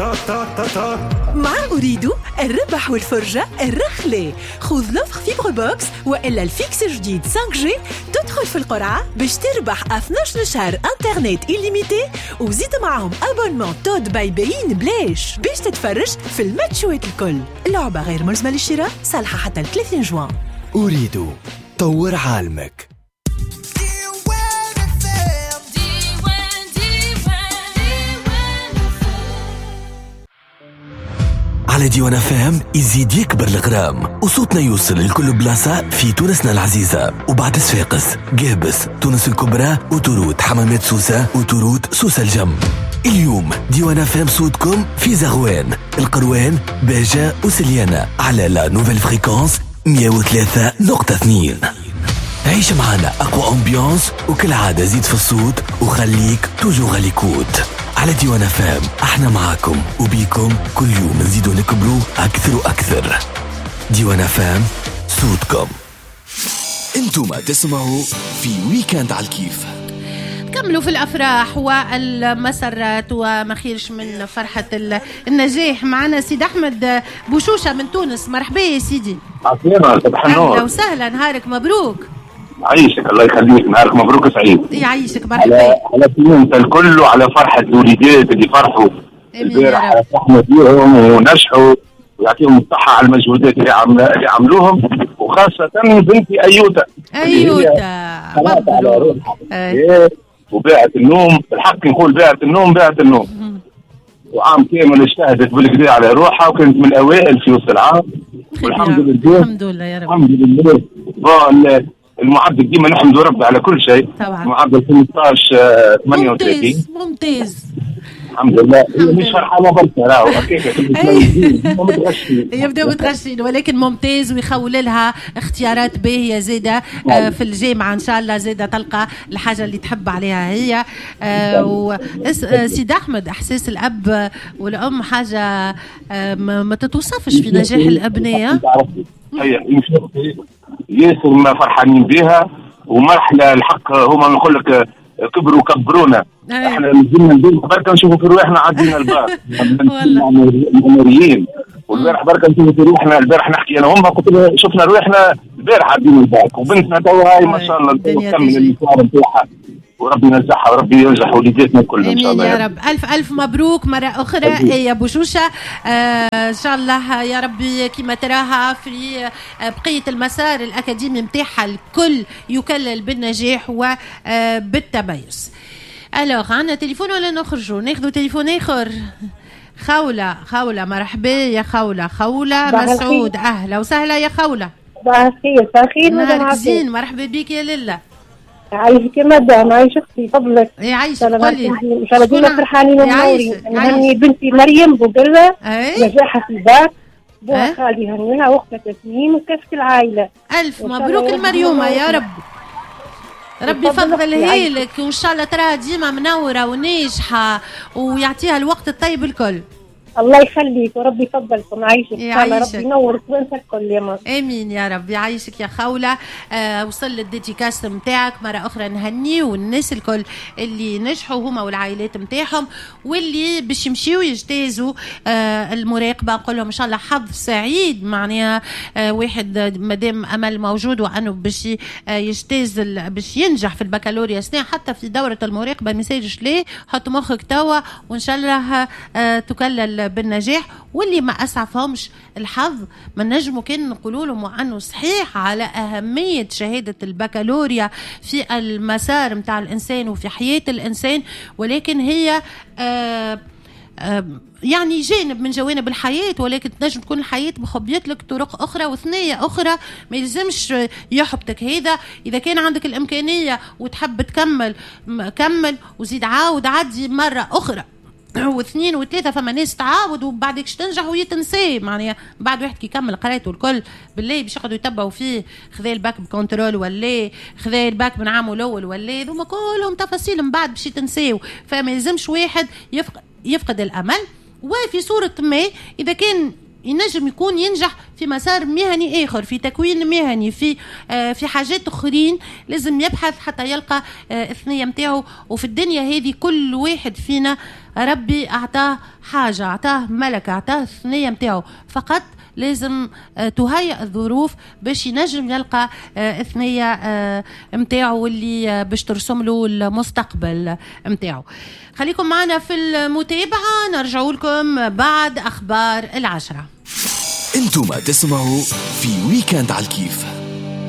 تا تا تا تا. مع أريد الربح والفرجة الرخلة. خذ l'offre fibre box وإلا ال fixe جديد 5G، تدخل في القرعة باش تربح 12 شهر انترنت illimité، وزيد معاهم abonnement TOD by beIN بلاش باش تتفرج في الماتشوات الكل. اللعبة غير ملزمة للشراء، صالحة حتى 30 جوان. أريد طور عالمك. على ديوان فهم يزيد يكبر الغرام وصوتنا يوصل لكل بلاصة في تونسنا العزيزة، وبعد صفاقس، قابس، تونس الكبرى، وتروت حمامات سوسة، وتروت سوسة الجم. اليوم ديوان فهم صوتكم في زغوان، القروان، باجة وسليانة على la nouvelle fréquence 103.2. عيش معنا أقوى ambiance، وكالعادة زيد في الصوت وخليك toujours à l'écoute على ديوان فام. احنا معاكم وبيكم كل يوم نزيدو نكبرو أكثر وأكثر. ديوان فام صوتكم. انتم تسمعوا في week-end على الكيف. كملوا في الأفراح والمسرات وما خيرش من فرحة النجاح. معنا سيد أحمد بوشوشة من تونس. مرحبا يا سيدي. عسلامة، صباح النور. أهلا وسهلا، نهارك مبروك. يعيشك، الله يخليك، نهارك مبروك سعيد. يعيشك، مرحبا. على سلامة الكل وعلى فرحة الوليدات اللي فرحوا البارح على فرحنا بيهم ونجحوا، ويعطيهم الصحة على المجهودات اللي عملوهم، وخاصة بنتي أيوتا. أيوتا مبروك. وباعت النوم، بالحق نقول باعت النوم، باعت النوم. وعام كامل اجتهدت بالكدا على روحها، وكانت من الأوائل في وسط العام، والحمد لله. الحمد لله يا رب. الحمد لله. المعدل ديما نحمد ربي على كل شيء. طبعا. معدل 15.38. ممتاز. الحمد لله. هي مش فرحانة برشا راهو هكاك يبداو متغشين، ولكن ممتاز ويخول لها اختيارات باهيه زاده في الجامعة ان شاء الله، زاده تلقى الحاجة اللي تحب عليها هي. سيد احمد، احساس الاب والام حاجة ما تتوصفش في نجاح الابناء. ياسر ما فرحانين بها، ومرحلة الحق هما نقول لك كبروا كبرونا. احنا نزلنا البيت بركة نشوفوا في رواحنا عدينا الباك الامريين، والبارح بركة نشوفوا في رواحنا. البارح نحكي انا وامها، قلت لها شفنا رواحنا البارح عدينا الباك، وبنتنا توا هاي ما شاء الله تكمل المشوار نتاعها، وربي ينجحها وربي ينجح وليداتنا كلهم ان شاء الله يا رب. الف الف مبروك مرة اخرى يا بوشوشه. ان شاء الله يا ربي كما تراها في بقية المسار الاكاديمي نتاعها الكل يكلل بالنجاح وبالتميز. alors عندنا تليفون ولا نخرجوا ناخذوا تليفون اخر؟ خوله، خوله مرحبا يا خوله. خوله مسعود، اهلا وسهلا يا خوله. صباح الخير. صباح الخير مدام زين، مرحبا بك يا لاله. عايشك يا مدام، عايش اختي فضلك. يعيشك، قولي ان شاء الله ديما فرحانين ومنورين. نهني بنتي مريم بوقره نجاحها في الباك، بوها خالي هنينا وقتها تسنيم وكافة العائلة. الف مبروك المريومه يا رب، ربي يفضلها لك وان شاء الله تراها ديما منورة وناجحة ويعطيها الوقت الطيب الكل. الله يخليك وربي يفضلكم. عايشك ان شاء الله ربي ينور وانت الكل يا مصر. امين يا رب. يعيشك يا خوله. وصل ال dédicace نتاعك مرة اخرى. نهنيو الناس الكل اللي نجحوا هما والعائلات نتاعهم، واللي باش يمشيو يجتازوا المراقبة، نقول لهم ان شاء الله حظ سعيد. معناها واحد مادام امل موجود وانه باش يجتاز باش ينجح في البكالوريا سنة، حتى في دوره المراقبة ما يسالش ليه، حط مخك توا وان شاء الله تكلل بالنجاح. واللي ما أسعفهمش الحظ ما نجموا كان نقولوا لهم وأنه صحيح على أهمية شهادة البكالوريا في المسار متاع الإنسان وفي حياة الإنسان، ولكن هي يعني جانب من جوانب الحياة، ولكن تنجم تكون الحياة مخبيت لك طرق أخرى وثنية أخرى، ما يلزمش يحبطك هذا. إذا كان عندك الإمكانية وتحب تكمل كمل، وزيد عاود عدي مرة أخرى واثنين وثلاثة. فما ناس تعاود وبعدك تنجح ويتنسي، معناها بعد واحد كي يكمل قرايته الكل بالله باش يقعدوا يتبعوا فيه، خذا ال bac ب contrôle ولا خذا الباك من عامة الاول ولا، هذوما كلهم تفاصيل من بعد باش يتنساو. فما يلزمش واحد يفقد الامل. وفي صورة ما اذا كان ينجم يكون ينجح في مسار مهني اخر، في تكوين مهني، في حاجات اخرين. لازم يبحث حتى يلقى الثنية نتاعو. وفي الدنيا هذه كل واحد فينا ربي اعطاه حاجة، اعطاه ملكه، اعطاه الثنية نتاعو، فقط لازم تهيئ الظروف باش ينجم يلقى الثنية نتاعو اللي باش ترسم له المستقبل نتاعو. خليكم معنا في المتابعة، نرجع لكم بعد أخبار 10. انتم تسمعوا في week-end على الكيف.